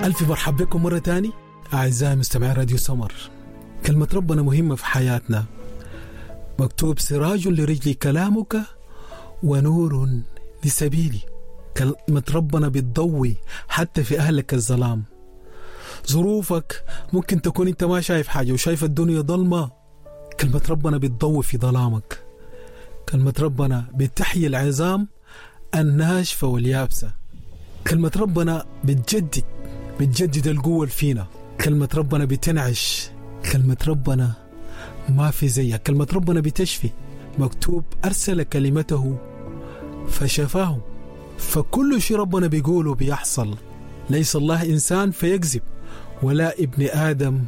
ألف مرحب بكم مرة تاني أعزائي مستمعي راديو سمر. كلمة ربنا مهمة في حياتنا. مكتوب سراج لرجلي كلامك ونور لسبيلي. كلمة ربنا بتضوي حتى في أهلك الظلام. ظروفك ممكن تكون أنت ما شايف حاجة وشايف الدنيا ظلمة، كلمة ربنا بتضوي في ظلامك. كلمة ربنا بتحيي العظام الناشفة واليابسة. كلمة ربنا بتجدد القوة فينا. كلمة ربنا بتنعش. كلمة ربنا ما في زيها. كلمة ربنا بتشفي. مكتوب أرسل كلمته فشفاهم. فكل شيء ربنا بيقوله بيحصل. ليس الله إنسان فيكذب ولا ابن آدم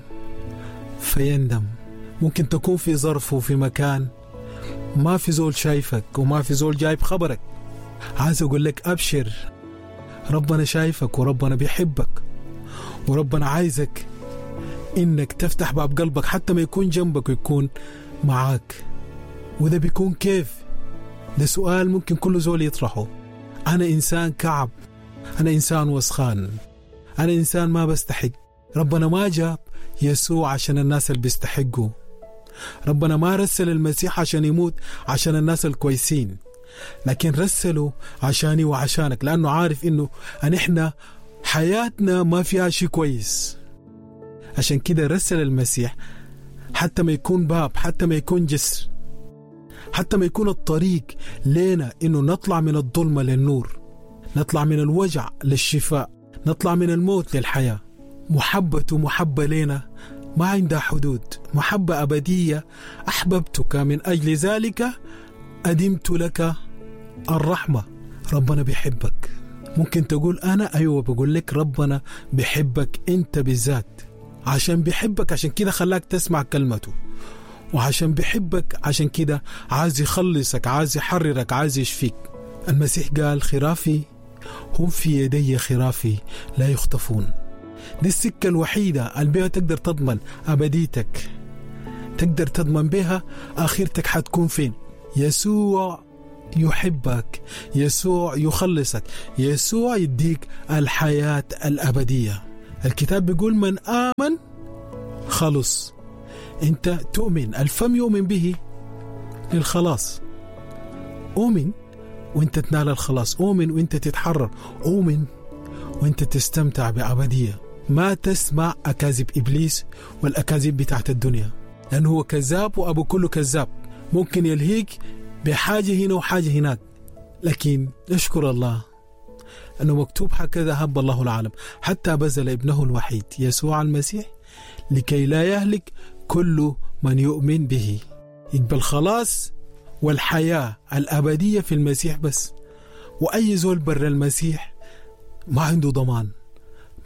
فيندم. ممكن تكون في ظرف وفي مكان ما في زول شايفك وما في زول جايب خبرك. عايز أقول لك أبشر، ربنا شايفك وربنا بيحبك وربنا عايزك إنك تفتح باب قلبك حتى ما يكون جنبك ويكون معاك. وده بيكون كيف؟ ده سؤال ممكن كل زول يطرحه. أنا إنسان كعب، أنا إنسان وسخان، أنا إنسان ما بستحق. ربنا ما جاب يسوع عشان الناس اللي بيستحقوا. ربنا ما رسل المسيح عشان يموت عشان الناس الكويسين، لكن رسله عشاني وعشانك، لأنه عارف إنه نحن حياتنا ما فيها شيء كويس. عشان كده رسل المسيح حتى ما يكون باب، حتى ما يكون جسر، حتى ما يكون الطريق لنا إنه نطلع من الظلمة للنور، نطلع من الوجع للشفاء، نطلع من الموت للحياة. محبته محبة لنا ما عندها حدود، محبة أبدية. أحببتك من أجل ذلك أدمت لك الرحمة. ربنا بيحبك. ممكن تقول أنا أيوة، بقول لك ربنا بيحبك أنت بالذات. عشان بيحبك عشان كده خلاك تسمع كلمته، وعشان بيحبك عشان كده عايز يخلصك، عايز يحررك، عايز يشفيك. المسيح قال خرافي هم في يدي، خرافي لا يخطفون. دي السكة الوحيدة اللي بها تقدر تضمن أبديتك، تقدر تضمن بها آخرتك حتكون فين. يسوع يحبك، يسوع يخلصك، يسوع يديك الحياة الأبدية. الكتاب بيقول من آمن خلص. أنت تؤمن، الفم يؤمن به للخلاص. أؤمن وانت تنال الخلاص، أؤمن وانت تتحرر، أؤمن وانت تستمتع بأبدية. ما تسمع أكاذيب إبليس والأكاذيب بتاعت الدنيا، لأنه هو كذاب وأبو كله كذاب. ممكن يلهيك بحاجة هنا وحاجة هناك، لكن نشكر الله أنه مكتوب هكذا هب الله العالم حتى بذل ابنه الوحيد يسوع المسيح لكي لا يهلك كل من يؤمن به. يقبل خلاص والحياة الأبدية في المسيح بس. وأي زول بر المسيح ما عنده ضمان،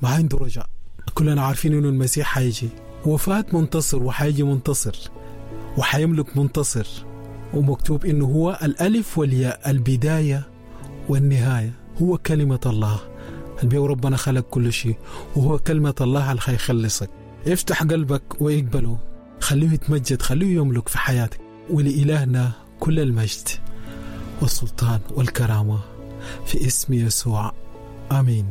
ما عنده رجاء. كلنا عارفين أنه المسيح حيجي، وفات منتصر وحيجي منتصر وحيملك منتصر. ومكتوب أنه هو الألف والياء، البداية والنهاية. هو كلمة الله اللي ربنا خلق كل شيء، وهو كلمة الله اللي حيخلصك. افتح قلبك ويقبله، خليه يتمجد، خليه يملك في حياتك. ولإلهنا كل المجد والسلطان والكرامة في اسم يسوع، آمين.